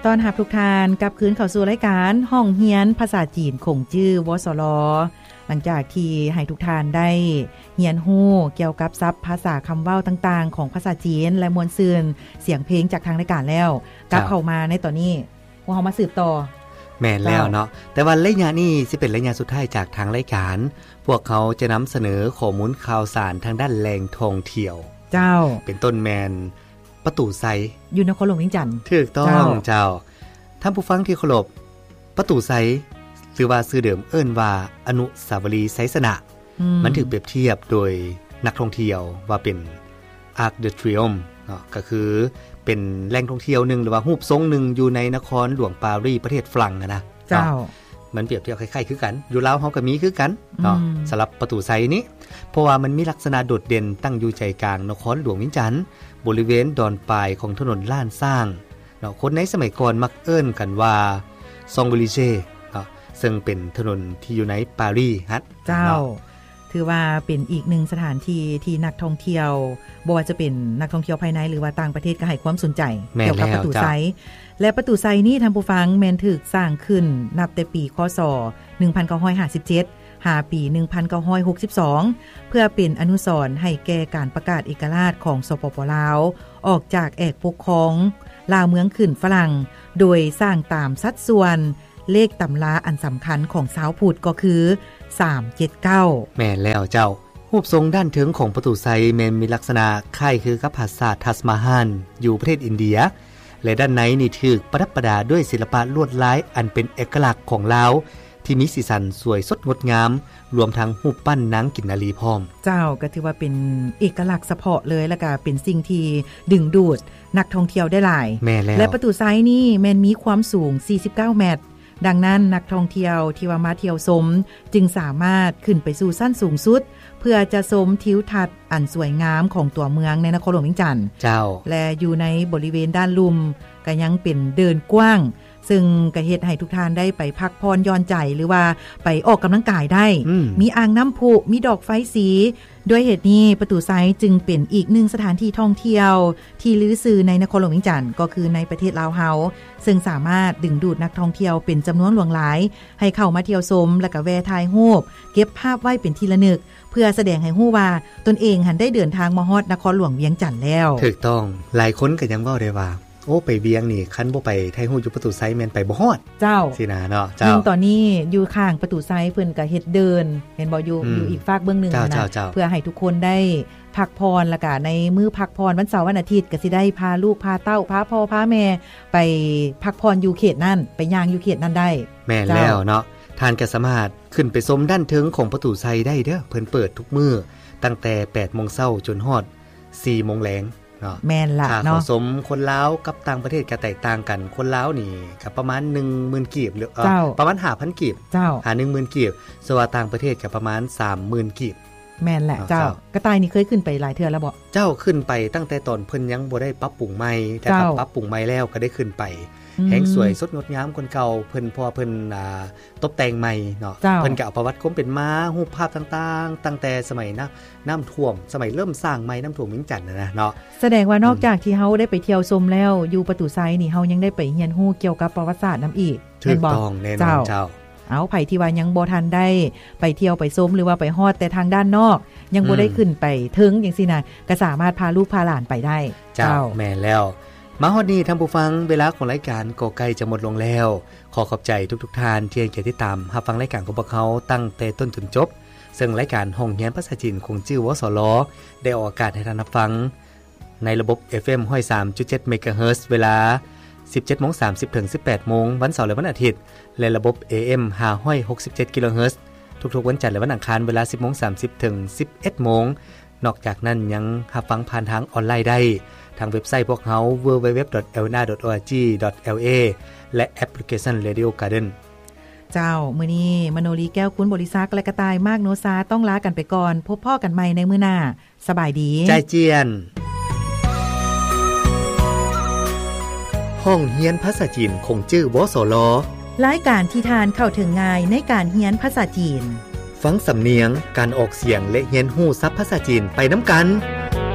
ຕ້ອນຮັບທຸກທ່ານກັບຄືນເຂົ້າສູ່ລາຍການຫ້ອງຮຽນພາສາຈີນຂົງຈື່ ວສລ. ຫຼັງຈາກທີ່ໃຫ້ທຸກທ່ານໄດ້ຮຽນຮູ້ກ່ຽວກັບສັບພາສາຄຳເວົ້າຕ່າງໆຂອງພາສາຈີນ ແລະ ມ່ວນຊື່ນສຽງເພງຈາກທາງລາຍການແລ້ວ, ກັບເຂົ້າມາໃນຕອນນີ້ ພວກເຮົາມາສືບຕໍ່. ແມ່ນແລ້ວເນາະ, ເຈົ້າ. ແຕ່ວ່າໄລຍະນີ້ຊິເປັນໄລຍະສຸດທ້າຍຈາກທາງລາຍການ, ພວກເຮົາຈະນຳສະເໜີຂໍ້ມູນຂ່າວສານທາງດ້ານແຫຼ່ງທ່ອງທ່ຽວ. ເຈົ້າ. ເປັນຕົ້ນແມ່ນປະຕູໄຊ ຢູ່ນະຄອນຫຼວງວຽງຈັນ. ຖືກຕ້ອງ ເຈົ້າ. ເຈົ້າ. ທ່ານຜູ້ຟັງທີ່ເຄົາລົບ, ປະຕູໄຊ ຫຼືວ່າຊື່ເດີມເອີ້ນວ່າອະນຸສາວະລີໄຊຊະນະ. ອືມ. ມັນຖືກປຽບທຽບໂດຍນັກທ່ອງທ່ຽວວ່າເປັນ Arc de Triomphe ເນາະ, ກໍຄືເປັນແຫຼ່ງທ່ອງທ່ຽວໜຶ່ງ ຫຼືວ່າຮູບຊົງໜຶ່ງຢູ່ໃນນະຄອນຫຼວງປາຣີ ປະເທດຝຣັ່ງຫັ້ນນະ. ເຈົ້າ. ເນາະ. ມັນປຽບທຽບຄ້າຍໆຄືກັນ, ຢູ່ລາວເຮົາກໍມີຄືກັນເນາະ. ອືມ. ສຳລັບປະຕູໄຊນີ້ ເພາະວ່າມັນມີລັກສະນະໂດດເດັ່ນ, ຕັ້ງຢູ່ໃຈກາງນະຄອນຫຼວງວຽງຈັນ, ບໍລິເວນດອນປາຍຂອງຖະໜົນລ້ານຊ້າງເນາະ. ຄົນໃນສະໄໝກ່ອນມັກເອີ້ນກັນວ່າ Champs-Élysées ເນາະ, ເຊິ່ງເປັນຖະໜົນທີ່ຢູ່ໃນປາຣີຫັ້ນ. ເຈົ້າ. ເນາະ. ຖືວ່າເປັນອີກໜຶ່ງສະຖານທີ່ທີ່ນັກທ່ອງທ່ຽວ ບໍ່ວ່າຈະເປັນນັກທ່ອງທ່ຽວພາຍໃນ ຫຼືວ່າຕ່າງປະເທດ ກໍໃຫ້ຄວາມສົນໃຈ. ແມ່ນແລ້ວ ກ່ຽວກັບປະຕູໄຊ ເຈົ້າ. ແລະ ປະຕູໄຊນີ້ ທ່ານຜູ້ຟັງ, ແມ່ນຖືກສ້າງຂຶ້ນນັບແຕ່ປີ ຄ.ສ. ໜຶ່ງພັນເກົ້າຮ້ອຍຫ້າສິບເຈັດ ຫາປີ ໜຶ່ງພັນເກົ້າຮ້ອຍຫົກສິບສອງ ເພື່ອເປັນອະນຸສອນໃຫ້ແກ່ການປະກາດເອກະລາດຂອງ ສປປ ລາວ ອອກຈາກແອກປົກຄອງລາວເມືອງຂຶ້ນຝຣັ່ງ, ໂດຍສ້າງຕາມສັດສ່ວນ ເລກຕຳລາອັນສຳຄັນຂອງຊາວພຸດກໍຄື ສາມເຈັດເກົ້າ. ແມ່ນແລ້ວເຈົ້າ. ຮູບຊົງດ້ານເທິງຂອງປະຕູໄຊແມ່ນມີລັກສະນະຄ້າຍຄືກັບປາສາດທັດມະຮານຢູ່ປະເທດອິນເດຍ ແລະ ດ້ານໃນນີ້ຖືກປະດັບປະດາດ້ວຍສິລະປະລວດລາຍອັນເປັນເອກະລັກຂອງລາວ ທີ່ມີສີສັນສວຍສົດງົດງາມ, ລວມທັງຮູບປັ້ນນາງກິນນາລີພ້ອມ. ເຈົ້າ, ກໍຖືວ່າເປັນເອກະລັກສະເພາະເລີຍ ແລະ ກໍເປັນສິ່ງທີ່ດຶງດູດນັກທ່ອງທ່ຽວໄດ້ຫຼາຍ. ແມ່ນແລ້ວ. ແລະ ປະຕູໄຊນີ້ແມ່ນມີຄວາມສູງ ສີ່ສິບເກົ້າແມັດ. ດັ່ງນັ້ນ ນັກທ່ອງທ່ຽວທີ່ວ່າມາທ່ຽວຊົມ ຈຶ່ງສາມາດຂຶ້ນໄປສູ່ຊັ້ນສູງສຸດ ເພື່ອຈະຊົມທິວທັດອັນສວຍງາມຂອງຕົວເມືອງໃນນະຄອນຫຼວງວຽງຈັນ. ເຈົ້າ. ແລະ ຢູ່ໃນບໍລິເວນດ້ານລຸ່ມກໍຍັງເປັນເດີ່ນກວ້າງ, ເຊິ່ງກໍເຮັດໃຫ້ທຸກທ່ານໄດ້ໄປພັກຜ່ອນຢ່ອນໃຈ ຫຼືວ່າໄປອອກກຳລັງກາຍໄດ້. ອືມ. ມີອ່າງນ້ຳພຸ, ມີດອກໄຟສີ. ດ້ວຍເຫດນີ້ ປະຕູໄຊຈຶ່ງເປັນອີກໜຶ່ງສະຖານທີ່ທ່ອງທ່ຽວ ທີ່ລືຊື່ໃນນະຄອນຫຼວງວຽງຈັນ ກໍຄືໃນປະເທດລາວເຮົາ, ເຊິ່ງສາມາດດຶງດູດນັກທ່ອງທ່ຽວເປັນຈຳນວນຫຼວງຫຼາຍ ໃຫ້ເຂົ້າມາທ່ຽວຊົມ ແລະ ກະແວ່ຖ່າຍຮູບ ເກັບພາບໄວ້ເປັນທີ່ລະນຶກ ເພື່ອສະແດງໃຫ້ຮູ້ວ່າຕົນເອງຫັ້ນໄດ້ເດີນທາງມາຮອດນະຄອນຫຼວງວຽງຈັນແລ້ວ. ຖືກຕ້ອງ. ຫຼາຍຄົນກໍຍັງເວົ້າໄດ້ວ່າ ໂອ້ ໄປວຽງນີ້ ຄັນບໍ່ໄປຖ່າຍຮູບຢູ່ປະຕູໄຊແມ່ນໄປບໍ່ຮອດ. ເຈົ້າ. ຊີ້ນະເນາະ. ເຈົ້າ. ຍິ່ງຕອນນີ້ຢູ່ຂ້າງປະຕູໄຊເພິ່ນກໍເຮັດເດີ່ນ ເຫັນບໍ່ ຢູ່ ອືມ ຢູ່ອີກຟາກເບື້ອງໜຶ່ງ. ເຈົ້າ ນະ ເຈົ້າ ເຈົ້າ. ເພື່ອໃຫ້ທຸກຄົນໄດ້ ພັກຜ່ອນ ແລ້ວກະໃນມື້ພັກຜ່ອນວັນເສົາວັນອາທິດ ກະຊິໄດ້ພາລູກພາເຕົ້າ ພາພໍ່ພາແມ່ໄປພັກຜ່ອນຢູ່ເຂດນັ້ນ ໄປຍ່າງຢູ່ເຂດນັ້ນໄດ້. ແມ່ນແລ້ວເນາະ. ເຈົ້າ. ທ່ານກະສາມາດຂຶ້ນໄປຊົມດ້ານເທິງຂອງປະຕູໄຊໄດ້ເດີ້ ເພິ່ນເປີດທຸກມື້ຕັ້ງແຕ່ແປດໂມງເຊົ້າຈົນຮອດສີ່ໂມງແລງເນາະ. ແມ່ນລະເນາະ. ຄ່າເຂົ້າຊົມຄົນລາວກັບຕ່າງປະເທດກະແຕກຕ່າງກັນ, ຄົນລາວນີ້ກະປະມານໜຶ່ງໝື່ນກີບ ຫຼື ເອີ ເຈົ້າ ປະມານຫ້າພັນກີບ. ເຈົ້າ. ຫາໜຶ່ງໝື່ນກີບ. ສ່ວນວ່າຕ່າງປະເທດກະປະມານສາມໝື່ນກີບ. ແມ່ນແຫຼະ ເນາະ ເຈົ້າ ເຈົ້າ. ກະຕ່າຍນີ້ເຄີຍຂຶ້ນໄປຫຼາຍເທື່ອແລ້ວບໍ່? ເຈົ້າ ຂຶ້ນໄປຕັ້ງແຕ່ຕອນເພິ່ນຍັງບໍ່ໄດ້ປັບປຸງໃໝ່, ແຕ່ ເຈົ້າ ປັບປຸງໃໝ່ແລ້ວກໍໄດ້ຂຶ້ນໄປ. ອືມ. ແຮ່ງສວຍສົດງົດງາມກວ່າເກົ່າ ເພິ່ນ ເພາະວ່າເພິ່ນ ອ່າ ຕົບແຕ່ງໃໝ່ເນາະ. ເຈົ້າ. ເພິ່ນກໍເອົາປະຫວັດຄວາມເປັນມາ, ຮູບພາບຕ່າງໆ ຕັ້ງແຕ່ສະໄໝນ້ຳ ນ້ຳຖ້ວມ ສະໄໝເລີ່ມສ້າງໃໝ່ນ້ຳຖ້ວມວຽງຈັນນະເນາະ. ສະແດງວ່າ ອືມ ນອກຈາກທີ່ເຮົາໄດ້ໄປທ່ຽວຊົມແລ້ວ ຢູ່ປະຕູໄຊນີ້ ເຮົາຍັງໄດ້ໄປຮຽນຮູ້ກ່ຽວກັບປະຫວັດສາດນຳອີກ. ຖືກຕ້ອງ ແມ່ນບໍ່? ແນ່ນອນ ເຈົ້າ. ເຈົ້າ. ເອົາ ໃຜທີ່ວ່າຍັງບໍ່ທັນໄດ້ໄປທ່ຽວໄປຊົມ ຫຼືວ່າໄປຮອດແຕ່ທາງດ້ານນອກ ຍັງບໍ່ໄດ້ ອືມ ຂຶ້ນໄປເທິງຈັ່ງຊີ້ນະ ກໍສາມາດພາລູກພາຫຼານໄປໄດ້. ເຈົ້າ. ເຈົ້າ. ແມ່ນແລ້ວ. ມາຮອດນີ້ທ່ານຜູ້ຟັງ ເວລາຂອງລາຍການກໍໃກ້ຈະໝົດລົງແລ້ວ. ຂໍຂອບໃຈທຸກໆທ່ານທີ່ໃຫ້ກຽດຕິດຕາມຮັບຟັງລາຍການຂອງພວກເຮົາຕັ້ງແຕ່ຕົ້ນຈົນຈົບ. ເຊິ່ງລາຍການຫ້ອງຮຽນພາສາຈີນຂົງຈື່ ວສລ ໄດ້ອອກອາກາດໃຫ້ທ່ານຮັບຟັງ ໃນລະບົບ ເອັຟເອັມ ຮ້ອຍສາມຈຸດເຈັດ ເມກາເຮີດ ເວລາ ສິບເຈັດໂມງສາມສິບ ເຖິງ ສິບແປດໂມງ ວັນເສົາ ແລະ ວັນອາທິດ ແລະ ລະບົບ ເອເອັມ ຫ້າຮ້ອຍຫົກສິບເຈັດ ກິໂລເຮີດ ທຸກໆວັນຈັນ ແລະ ວັນອັງຄານ ເວລາ ສິບໂມງສາມສິບ ເຖິງ ສິບເອັດໂມງ. ນອກຈາກນັ້ນຍັງຮັບຟັງຜ່ານທາງອອນລາຍໄດ້ ທາງເວັບໄຊພວກເຮົາ www.lna.org.la ແລະ ແອັບພລິເຄຊັນ Radio Garden. ເຈົ້າ, ມື້ນີ້ມະໂນລີ ແກ້ວຄູນບໍລິສັກ ແລະ ກະຕ່າຍ ມາກໂນຊາ ຕ້ອງລາກັນໄປກ່ອນ. ພົບພໍ້ກັນໃໝ່ໃນມື້ໜ້າ. ສະບາຍດີ. ຈາຍຈຽນ. ຫ້ອງຮຽນພາສາຈີນຂົງຈື່ ວສລ. ລາຍການທີ່ທ່ານເຂົ້າເຖິງງ່າຍໃນການຮຽນພາສາຈີນ. ຟັງສຳນຽງ, ການອອກສຽງ ແລະ ຮຽນຮູ້ສັບພາສາຈີນໄປນຳກັນ.